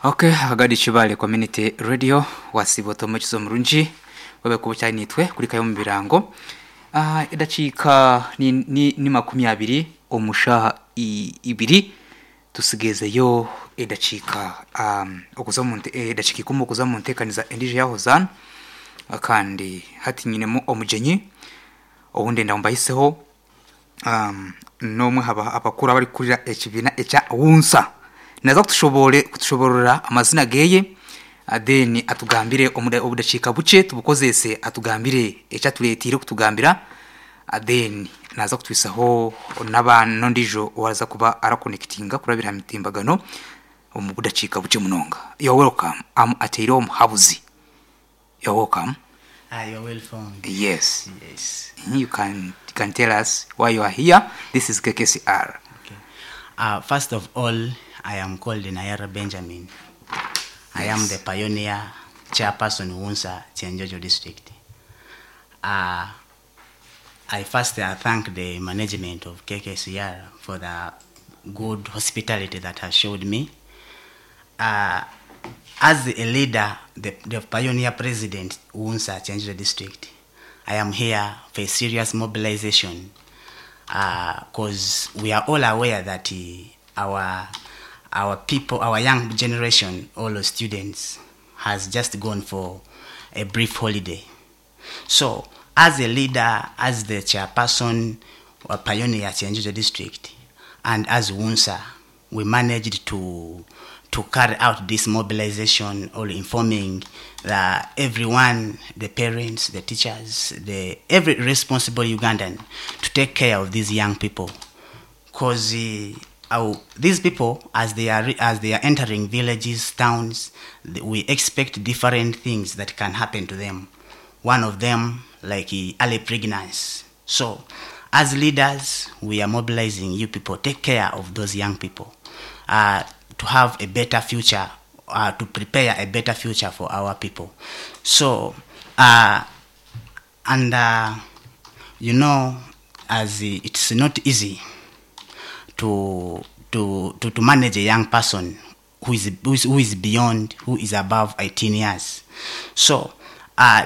Ok Agadi Kibaale Community Radio wasiiba ota omukizi omurungi webale kuba okyari naitwe kurikayo omu birango. Ah, edakiika ni, ni, ni 20 omu shaaha ibiri tusigezeyo edakiika um, okuza omu nte- edakiika ikumi okuza omu nteekaniza endiijo eya Hozaana kandi hati nyinemu omugyenyi ou ndenda ngu mbahiseho N'omwe aha bakuru abarikukurira ekibiina ekya WUNSA. Naaza kutushoboororera amazina ge, then atugambire omu budakiika bukye tubukozeese atugambire eki atureeteire kutugambira, then naaza kutwisaho n'ondiijo owaaza kuba arakonekitinga kurabira aha mitimbagano omu budakiika bukye munonga. You're welcome. Am Ateireho Muhabuzi. You're welcome. Ah, you're well found. Yes. Yes. You can, you can tell us why you are here. This is KKCR. Okay. First of all, I am called Nayara Benjamin. I am the pioneer chairperson Wunsa Kyenjojo district. I first thank the management of KKCR for the good hospitality that has showed me. As a leader, the, the pioneer president Wunsa Kyenjojo district, I am here for a serious mobilization because we are all aware that our our people, our young generation, all the students, has just gone for a brief holiday. So, as a leader, as the chairperson of Pioneer Kyenjojo district, and as WUNSA, we managed to to carry out this mobilization or informing the, everyone, the parents, the teachers, the every responsible Ugandan to take care of these young people. Because these people, as they are as they are entering villages, towns, we expect different things that can happen to them. One of them, like early pregnancy. So, as leaders, we are mobilizing you people. Take care of those young people to have a better future, to prepare a better future for our people. So, and you know, as it's not easy to to to, to manage a young person who is, who is who is beyond who is above 18 years. So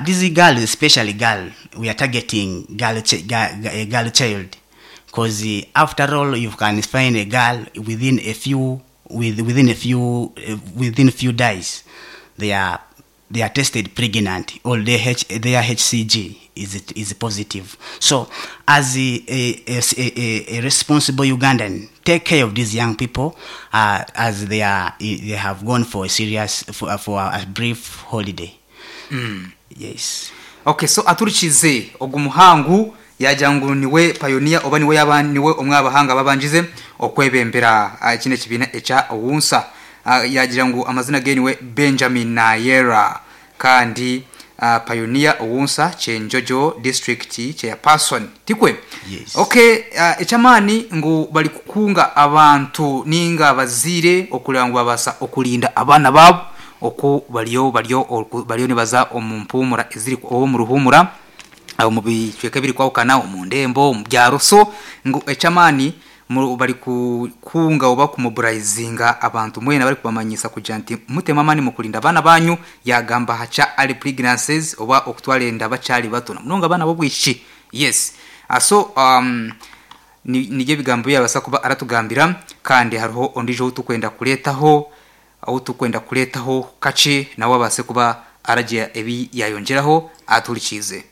this girl, especially girl, we are targeting girl, ch- girl a girl child, because after all, you can find a girl within a few with, within a few within a few days, they are they are tested pregnant or their, H, their HCG is is positive. So, as a, a, a, a, responsible Ugandan, take care of these young people as they are they have gone for a serious for, for a brief holiday. Yes. Okay, so aturikize ogu muhangu yagira ngu niwe pioneer oba niwe yaba niwe omwe aha bahanga ababangize okwebembera kinu ekibiina ekya WUNSA. Yagira ngu amazina ge niwe Benjamin Nayera kandi pioneer WUNSA Kyenjojo district chairperson. Tikwe? Yes. Okay, eky'amaani ngu bari kukunga abantu ninga abazaire okureba ngu babaasa okurinda abaana baabo oku bariyo bariyo bariyo nibaza omu mpuumura eziri oba omu ruhuumura omu bicweka ebirikwahukana omu ndembo, omu byaro so ngu eky'amaani bari kukunga oba kumoburayizinga abantu mwena barikubamanyisa kugira nti mutemu amaani mukurinda abaana banyu yagamba aha kya early pregnancies oba okutwara enda bakyari bato namunonga abaana b'obwishiki yes so um, nibyo ebigambo ebi yabaasa kuba aratugambira kandi hariho ondiijo ou turikwenda kureetaho ou turikwenda kureetaho kakye nawe abaase kuba aragira ebi yaayongyeraho atuhurikiize.